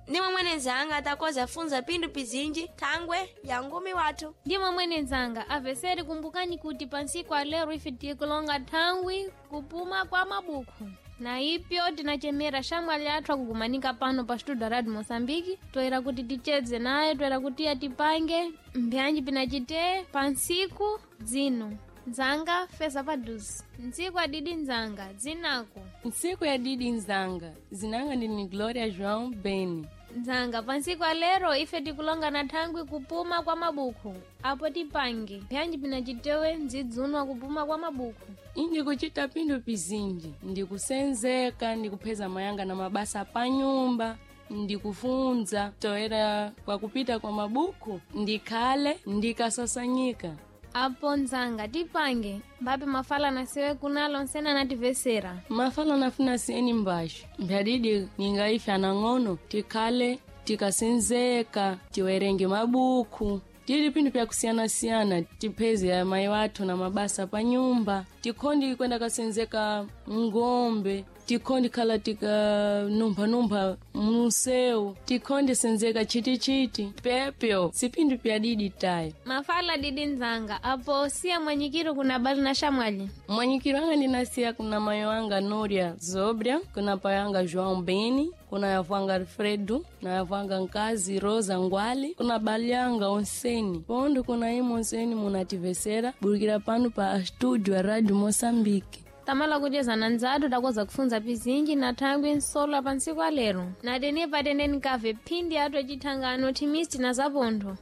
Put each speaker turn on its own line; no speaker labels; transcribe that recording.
Ndimwe mwene nzanga takoza funza pindu pizinji thangwe ya ngumi wathu.
Ndimwe mwene nzanga aveseri kumbukani kuti pansiku alero ife tikulonga thangwi kupuma kwa mabuku na ipyo tinachemera shamwali athu akukumanika pano pa studio radio Moçambique, toera kuti tichedze naye, toera kuti atipange mbyanji pinachite pansiku dzino. Nzanga feza paduzi ntsiku adidi nzanga dzinako.
Ntsiku ya didi nzanga, zinanga ndini Gloria João Beni.
Nzanga, pansiku alero ife tikulonga na thangwi kupuma kwa mabuku, apo tipange mbyanji pinachitewe ndzidzunwa kupuma kwa mabuku.
Indi kuchita pindu pizinji, ndikusenzeka, ndikupheza mayanga na mabasa panyumba, ndikufunza toera kwa kupita kwa mabuku, ndikhale ndikasasanyika.
Apo nzanga tipange mbape mafala nasiwe kunalo nsena nativesera.
Mafala nafuna siyeni mbaxo mbyadidi ningaife anang'ono tikhale tikasenzeka, tiwerenge mabuku, tili pindu pyakusiyanasiyana, tipheze amayi wathu na mabasa pa nyumba, tikhondi kwenda kasenzeka ng'ombe, tikhondi khala tikanumphanumpha munsewu, tikhondi senzeka chitichiti pepyo sipindu pyadidi tayo.
Mafala didi nzanga, apo siya mwanyikiro kuna bali na shamwali.
Mwanyikiro anga ndinasiya kuna mayo anga Noria Zobria, kuna pai anga João Beni, kuna yavu anga Alfredo, na yavu anga nkazi Rosa Ngwali, kuna bali anga onseni pondo, kuna imwe onseni munativesera burukira pano pa studio ya Radio Moçambique.
Tamala kucheza na nzatu takoza kufunza pizinji na thangwi nsola pansiku alero na tenepa teneni kave phindi atu acithangano thimisti na zapontho.